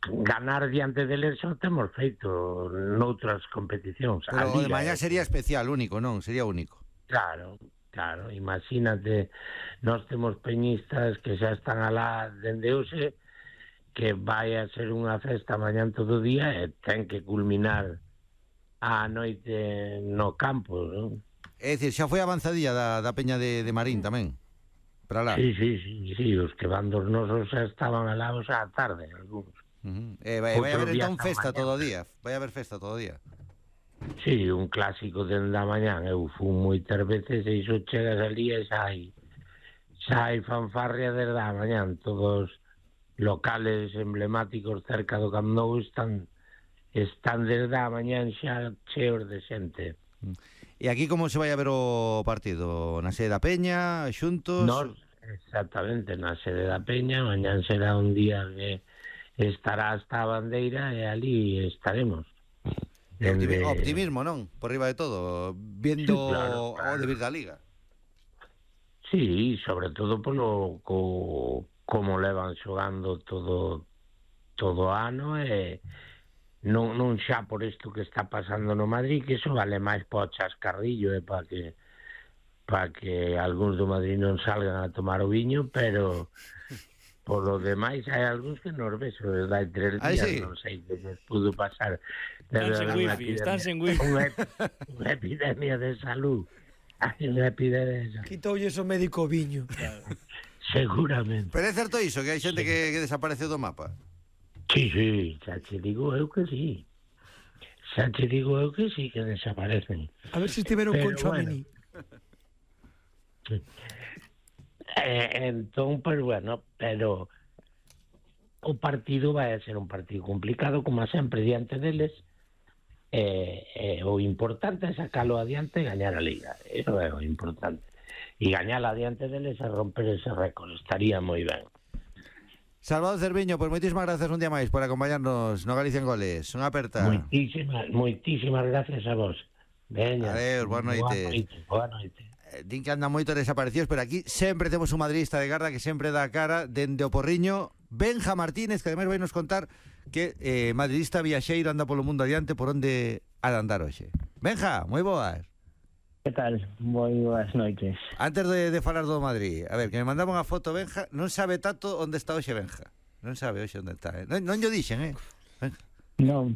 ganar diante deles xa o temos feito noutras competicións. Pero o de mañá sería especial, único, non? Sería único. Claro, imagínate, nós temos peñistas que xa están alá dende hoxe, que vai a ser unha festa mañán todo o día e ten que culminar a noite no campo, non? É dicir, xa foi avanzadilla da peña de Marín tamén, para lá. Sí, os que van dos nosos xa estaban alá xa a tarde, algúns. Vai haber entón festa todo o día. Vai haber festa todo o día. Sí, un clásico dende a mañán. Eu fui moitas veces e iso chegas ali e xa hai fanfarria desde a mañán. Todos locales emblemáticos cerca do Camp Nou están desde a mañán xa cheos de xente. E aquí como se vai a ver o partido? Na sede da Peña, xuntos? Exactamente, na sede da Peña. Mañán será un día que estará hasta a bandeira e ali estaremos. Optimismo, non? Por riba de todo, viendo sí, claro. O debir da Liga. Sí, sobre todo polo como levan xogando todo o ano e non xa por isto que está pasando no Madrid, que iso vale máis para o chascarrillo e para que algúns do Madrid non salgan a tomar o viño, pero por lo demais hai algúns que nos beso desde hai 3 días, sí. Non sei que nos pudo pasar. Están sen wifi. Unha epidemia de salud. Hai unha epidemia. Quitoulle o médico viño. Claro. Seguramente. Pero é certo iso, que hai xente que desapareceu do mapa? Sí, xa che digo eu que sí. Que desaparecen. A ver se estiveron con Chouameni. Entón, pues bueno, pero o partido vai a ser un partido complicado, como sempre, diante deles. O importante é sacalo adiante e gañar a Liga. Eso é o importante. E gañar adiante deles e romper ese récord. Estaría moi ben. Salvador Cerviño, pues moitísimas gracias un día máis por acompañarnos no Galicia en Goles. Unha aperta. Moitísimas gracias a vos. Veña. Adeus, boa noite. Boa noite. Din que andan moito desaparecidos, pero aquí sempre temos un madridista de garda que sempre dá a cara dende o Porriño, Benja Martínez, que ademais vai nos contar que madridista viaxeiro anda polo mundo adiante por onde ha de andar hoxe. Benja, moi boas. Que tal? Moi boas noites. Antes de falar do Madrid, a ver, que me mandaba unha foto Benja, non sabe tanto onde está hoxe Benja. Non sabe hoxe onde está, Non llo dixen, Benja. Non.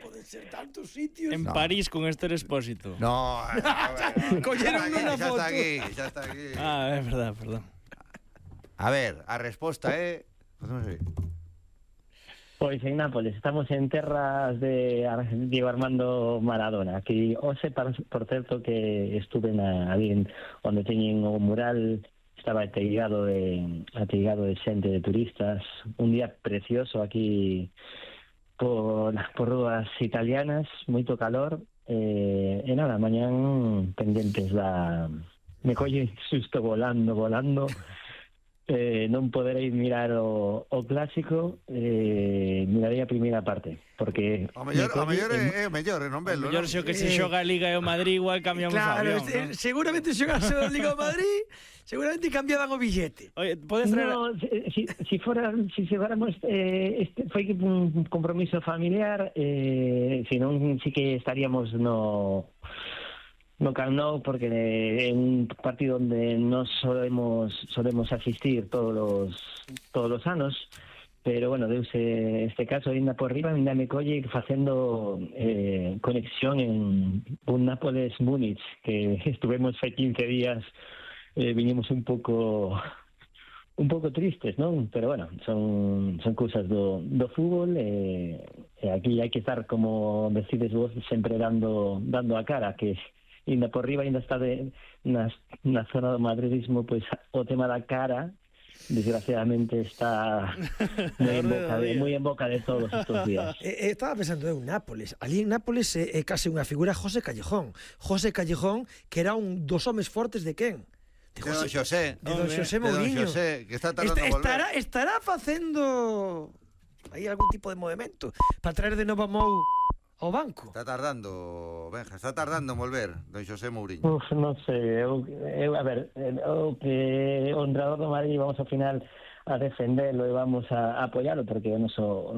Poden ser tantos sitios. En París con Esther Expósito. No. Colleron unha foto. Xa está aquí. É verdad, perdón. A ver, a resposta é... Pois en Nápoles, estamos en terras de Diego Armando Maradona. Aquí, hoxe, por certo, que estuve ali onde teñen o mural, estaba ateigado de xente, de turistas. Un día precioso aquí por rúas italianas, moito calor, e nada, mañán pendentes me colle susto volando, non poderei mirar o clásico, mirarei a primeira parte, porque o mellor é o mellor, non velo. O mellor xo que se xoga a Liga e o Madrid igual cambiamos o avión, ¿no? Seguramente xogase a Liga o Madrid, seguramente cambiaban o billete. Oye, podes traer... No, si fuéramos foi un compromiso familiar, senón si que estaríamos no Camp Nou, porque é un partido onde nos solemos asistir todos os anos, pero bueno, deuse este caso ainda por riba, ainda me colle facendo conexión en un Nápoles-Múnich, que estuvemos fai 15 días, vinimos un pouco tristes, non? Pero bueno, son cousas do fútbol, e aquí hai que estar, como decides vos, sempre dando a cara, que ainda por riba, ainda está na zona do madridismo, pois o tema da cara, desgraciadamente, está moi en boca de todos estos días. Estaba pensando en Nápoles. Ali en Nápoles é case unha figura José Callejón. José Callejón, que era un dos homes fortes de quen? De Don Xosé. De Don Xosé Mourinho. Que está tardando a volver. Estará facendo aí algún tipo de movimento para traer de novo a Mou ao banco. Está tardando, Benja, en volver Don Xosé Mourinho. Non sei, a ver, o que o entrenador do Madrid vamos ao final a defendelo e vamos a apoialo, porque o noso